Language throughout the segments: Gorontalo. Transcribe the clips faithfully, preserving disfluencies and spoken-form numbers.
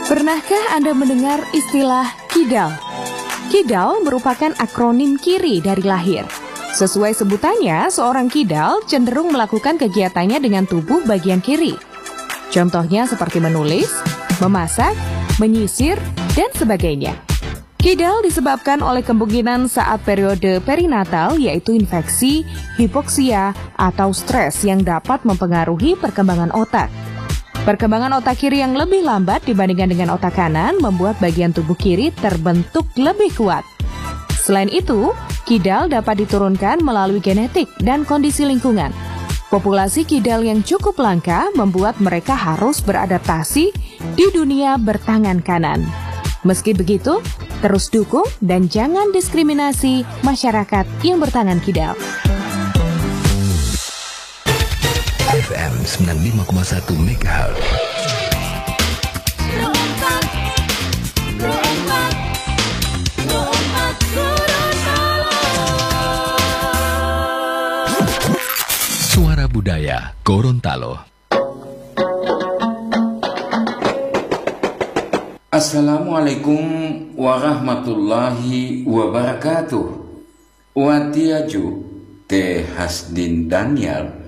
Pernahkah Anda mendengar istilah kidal? Kidal merupakan akronim kiri dari lahir. Sesuai sebutannya, seorang kidal cenderung melakukan kegiatannya dengan tubuh bagian kiri. Contohnya seperti menulis, memasak, menyisir, dan sebagainya. Kidal disebabkan oleh kemungkinan saat periode perinatal, yaitu infeksi, hipoksia, atau stres yang dapat mempengaruhi perkembangan otak. Perkembangan otak kiri yang lebih lambat dibandingkan dengan otak kanan membuat bagian tubuh kiri terbentuk lebih kuat. Selain itu, kidal dapat diturunkan melalui genetik dan kondisi lingkungan. Populasi kidal yang cukup langka membuat mereka harus beradaptasi di dunia bertangan kanan. Meski begitu, terus dukung dan jangan diskriminasi masyarakat yang bertangan kidal. F M sembilan lima koma satu megahertz. Suara Budaya Gorontalo. Assalamualaikum warahmatullahi wabarakatuh. Watiya ju te Hasdin Daniel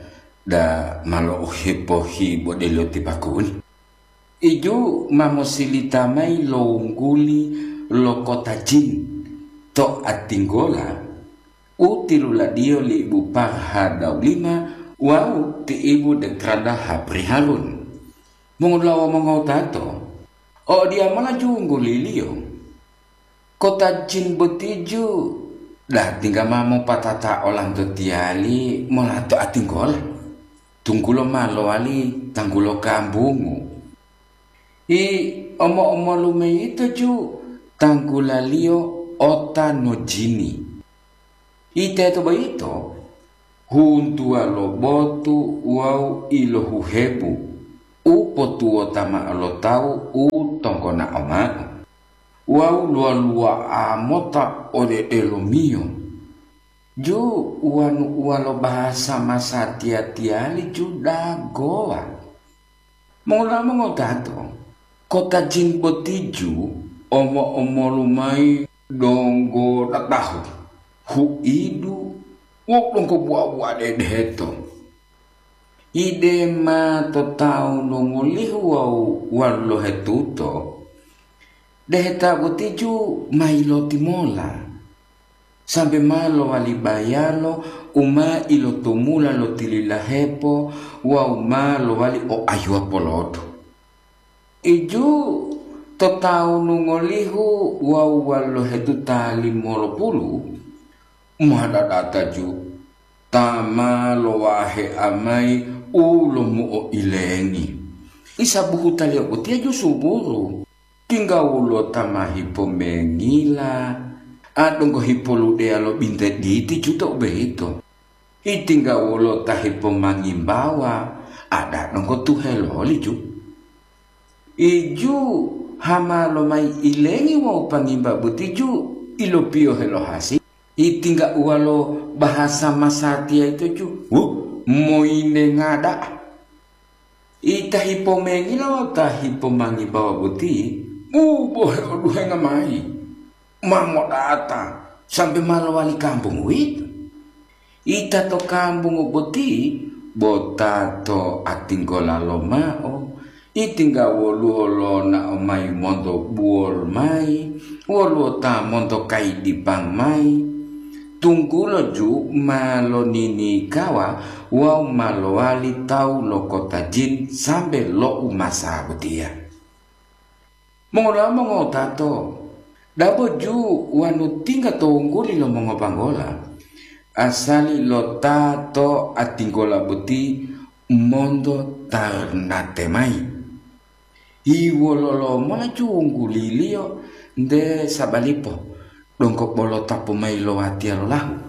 da malo u hepohi bodelo ti pakuli. Iju ma mosilita mayi lo wungguli lo kota jin to Atinggola u tiluladiyo li Ibu Parha Daulima wawu ti Ibu Dekrada Hapri Harun. Mongolawa mongowutato, o diyamola ju wungguliliyo. Kota jin boti ju da tingga ma mopatata olanto tiyali molato Atinggola, tunggulo ma lowali tanggulo kambungu. I omo-omolu meyito ju tanggulaliyo ota no jini. Iteto boyito, huntuwa lo botu wawu ilohuhebu u potuwota ma'o lo tawu u tonggona'o ma'o, wawu luwa-luwa'a mota ode delomiyo. Ju uwanu-uwa lo bahasa masatiya-tiyali ju dagowa. Mongolamo ngotato, kota jin boti ju omo-omolu mayi donggo datahu, huidu wawu donggo buwa-buwa dedeheto. Ide ma to tawu lo ngolihu wawu walu lohetuto, deheta boti ju ma yilotimola. Sambe ma lowali bayalo u ma ilotumula lo tililahepo wawu ma lowali o ayuwa polodu. Iju to tawunu ngolihu wawu walu lohetuta limolopulu, ma dadata ju ta ma lowahea mayi u lomuo ilengi. Isa buhutaliyo botiya ju suburu. Tingga woluwo ta ma hipomengila, a donggo hipoludeya lo binte diti ju to u boyito. Itingga woluwo ta hipomangimbawa, a da donggo tuheloli ju. Iju hama lomayi ilengi wawu pangimba boti ju ilopiyohe lo hasi. Itingga uwalo bahasa masatiya yito ju, wu, moyinenga da'a. Ita hipomengila wawu ta hipomangimbawa boti u bohe oduhenga mayi, ma modata sambe ma lowali kambungu uwito. Ita to kambungu boti bo ta to atinggola lomao, itingga woluwo lonao mayi monto buwol mayi, woluwo ta monto kayidipang mayi, tunggulo ju ma loninikawa wawu ma lowali tawu lo kota jin sambe lo umasa botiya. Mongolamo ngotato, dabo ju wanu tingga to wungguli lo mongobanggola, asali lo ta to atinggola boti monto tarnate mayi. Hiwololomola ju wungguliliyo nte sabalipo, donggo bolo tapu mayi lo watiya lolahu.